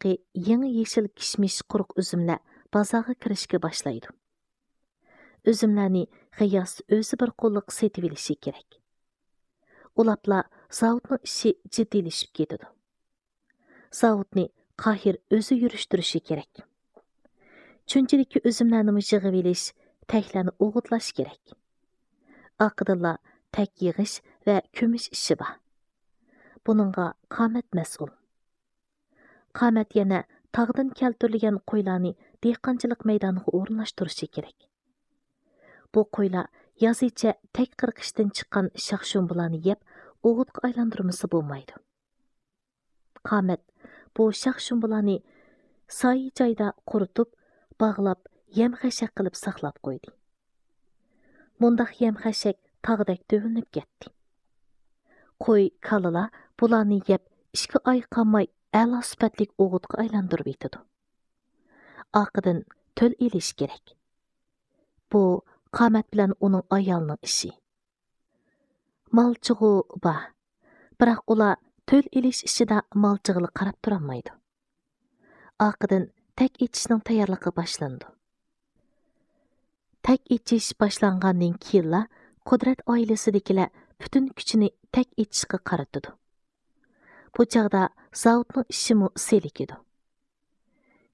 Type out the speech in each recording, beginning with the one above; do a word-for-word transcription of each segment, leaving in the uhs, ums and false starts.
ھېلىقى يېڭى يېشىل كىشمىش قۇرۇق ئۈزۈملەر بازارغا كىرىشكە باشلايدۇ. ئۈزۈملەرنى غىياس ئۆزى بىر قوللۇق سېتىۋېلىشى كېرەك. ئۇلاپلا زاۋۇتنىڭ ئىشى جىددىيلىشىپ كېتىدۇ. زاۋۇتنى قاھىر ئۆزى يۈرۈشتۈرۈشى كېرەك. چۈنچىلىككە ئۈزۈملەرنىمۇ يىغىۋېلىش، تەكلەرنى ئوغۇتلاش كېرەك. ئارقىدىنلا تەك يىغىش ۋە كۆمۈش ئىشى بار. بۇنىڭغا قامەت مەسئۇل. قامەت يەنە تاغدىن كەلتۈرۈلگەن قويلارنى دېھقانچىلىق مەيدانىغا ئورۇنلاشتۇرۇشى كېرەك. بۇ قويلار يازىچە تەك قىرقىشتىن چىققان شاخ-شۇمبىلارنى يەپ، ئوغۇتقا ئايلاندۇرمىسا بولمايدۇ. قامەت بۇ شاخ-شۇمبىلارنى سايە جايدا قۇرۇتۇپ، باغلاپ، يەم-خەشەك قىلىپ ساقلاپ قويدى. مۇنداق يەم-خەشەك تاغدەك تۆۋىلىنىپ كەتتى. قوي، كالىلار بۇلارنى يەپ، ئىككى ئاي قالماي ئەلا سۈپەتلىك ئوغۇتقا ئايلاندۇرۇۋېتىدۇ. ئارقىدىن تۆل ئېلىش كېرەك. بۇ قامەت بىلەن ئۇنىڭ ئايالىنىڭ ئىشى. مالچىغۇ بار، بىراق ئۇلار تۆل ئېلىش ئىشىدا مالچىغىلى قاراپ تۇرالمايدۇ. ئارقىدىن تەك ئېچىشنىڭ تەييارلىقى باشلىنىدۇ. تەك ئېچىش باشلانغاندىن كېيىنلا قۇدرەت ئائىلىسىدىكىلەر پۈتۈن كۈچىنى تەك ئېچىشقا قارىتىدۇ. بۇ چاغدا زاۋۇتنىڭ ئىشىمۇ سېلىكىدۇ.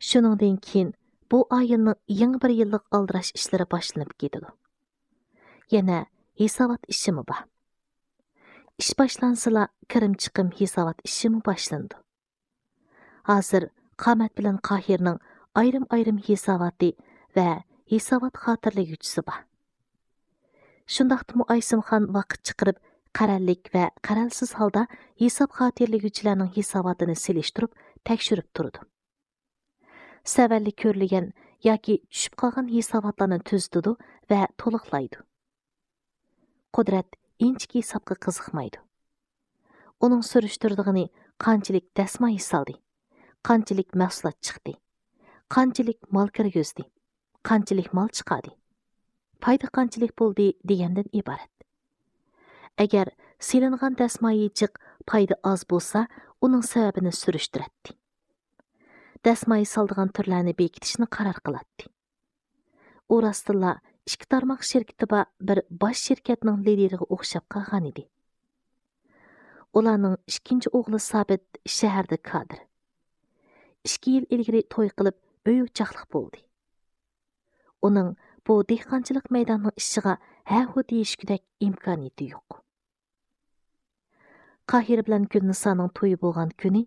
شۇنىڭدىن كېيىن بۇ ئائىلىنىڭ يېڭى بىر يىللىق ئالدىراش ئىشلىرى باشلىنىپ كېتىدۇ. يەنە ھېسابات ئىشىمۇ بار. ئىش باشلانسىلا، كىرىم-چىقىم ھېسابات ئىشىمۇ باشلىنىدۇ. ھازىر قامەت بىلەن قاھىرنىڭ ئايرىم-ئايرىم ھېساباتى ۋە ھېسابات خاتىرىلىگۈچىسى بار. شۇنداقتىمۇ ئايسىمخان ۋاقىت چىقىرىپ، قەرەللىك ۋە قەرەلسىز ھالدا ھېساب خاتىرىلىگۈچىلەرنىڭ ھېساباتىنى سېلىشتۇرۇپ تەكشۈرۈپ تۇرىدۇ. سەۋەنلىك كۆرۈلگەن ياكى چۈشۈپ قالغان ھېساباتلارنى تۈزىتىدۇ ۋە تولۇقلايدۇ. قۇدرەت ئىنچىكە ھېسابقا قىزىقمايدۇ. ئۇنىڭ سۈرۈشتۈرىدىغىنى قانچىلىك دەسمايە سالدى، قانچىلىك مەھسۇلات چىقتى، قانچىلىك مال كىرگۈزدى، قانچىلىك مال چىقاردى، پايدا قانچىلىك بولدى دېگەندىن ئىبارەت. ئەگەر سېلىنغان دەسمايە جىق، پايدا ئاز بولسا، ئۇنىڭ سەۋەبىنى سۈرۈشتۈرەتتى. دەسمايە سالىدىغان تۈرلەرنى بېكىتىشنى قارار قىلاتتى. ئۇ راستتىنلا ئىككى تارماق شىركىتى بار بىر باش شىركەتنىڭ لىدىرىغا ئوخشاپ قالغانىدى. ئۇلارنىڭ ئىككىنچى ئوغلى سابىت شەھەردە كادىر. ئىككى يىل ئىلگىرى توي قىلىپ، ئۆي-ئوچاقلىق بولدى. ئۇنىڭ بۇ دېھقانچىلىق مەيدانىنىڭ ئىشىغا ھە-ھۇ دېيىشكۈدەك ئىمكانىيىتى يوق. قاھىر بىلەن گۈلنىسانىڭ تويى بولغان كۈنى،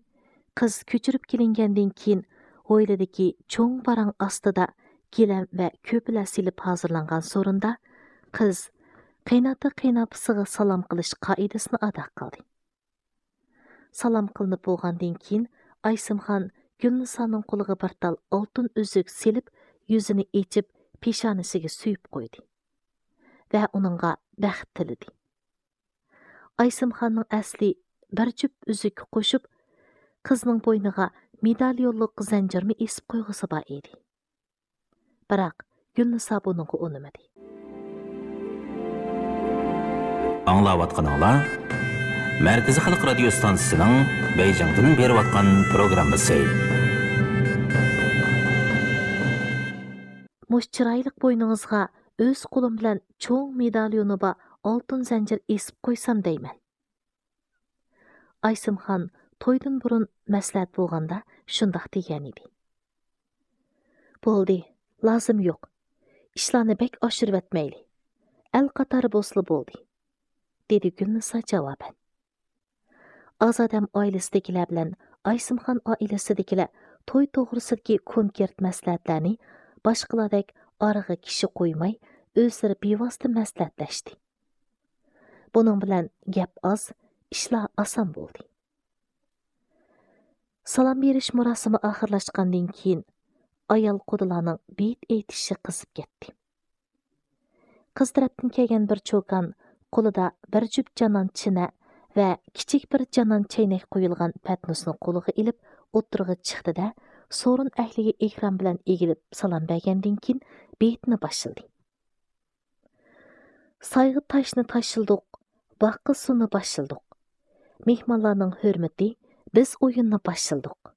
قىز كۆچۈرۈپ كېلىنگەندىن كېيىن، ھويلىدىكى چوڭ باراڭ ئاستىدا گىلەم ۋە كۆپىلەر سېلىپ ھازىرلانغان سورۇندا قىز قېيناتا-قېيىنئاپىسىغا سالام قىلىش قائىدىسىنى ئادا قىلدى. سالام قىلىنىپ بولغاندىن كېيىن، ئايسىمخان گۈلنىسانىڭ قولىغا بىر تال ئالتۇن ئۈزۈك سېلىپ، يۈزىنى ئېچىپ، پېشانىسىگە سۆيۈپ قويدى ۋە ئۇنىڭغا بەخت تىلىدى. ئايسىمخاننىڭ ئەسلى بىر جۈپ ئۈزۈككە قوشۇپ، قىزنىڭ بوينىغا مېداليونلۇق زەنجىرمۇ ئېسىپ قويغۇسى بار ئىدى. بىراق، گۈلنىسا بۇنىڭغا ئۇنىمىدى. ئاڭلاۋاتقىنىڭلار مەركىزىي خەلق رادىيو ستانسىسىنىڭ بېيجىڭدىن بېرىۋاتقان پروگراممىسى. مۇشۇ چىرايلىق بوينىڭىزغا ئۆز قولۇم بىلەن چوڭ مېداليونى بار ئالتۇن زەنجىر ئېسىپ قويسام دەيمەن. ئايسىمخان تويدىن بۇرۇن مەسلىھەت بولغاندا شۇنداق دېگەنىدى. بولدى، لازىم يوق. ئىشلارنى بەك ئاشۇرۇۋەتمەيلى. ئەل قاتارى بولسىلا بولدى، دېدى گۈلنىسا جاۋابەن. ئازادەم ئائىلىسىدىكىلەر بىلەن ئايسىمخان ئائىلىسىدىكىلەر توي توغرىسىدىكى كونكرېت مەسلىھەتلەرنى باشقىلاردەك ئارىغا كىشى قويماي، ئۆزلىرى بىۋاسىتە مەسلىھەتلەشتى. بۇنىڭ بىلەن گەپ ئاز، ئىشلار ئاسان بولدى. سالام بېرىش مۇراسىمى ئاخىرلاشقاندىن كېيىن، ئايال قۇدىلارنىڭ بېيىت ئېيتىشى قىزىپ كەتتى. قىز تەرەپتىن كەلگەن بىر چوكان قولىدا بىر جۈپ جانان چىنە ۋە كىچىك بىر جانان چەينەك قويۇلغان پەتنۇسنى قولىغا ئېلىپ، ئوتتۇرىغا چىقتى-دە، سورۇن ئەھلىگە ئېھتىرام بىلەن ئېگىلىپ سالام بەرگەندىن كېيىن، بېيىتنى باشلىدى. سايغا تاشنى تاشلىدۇق، باغقا سۇنى باشلىدۇق. مېھمانلارنىڭ ھۆرمىتى، بىز ئويۇننى باشلىدۇق.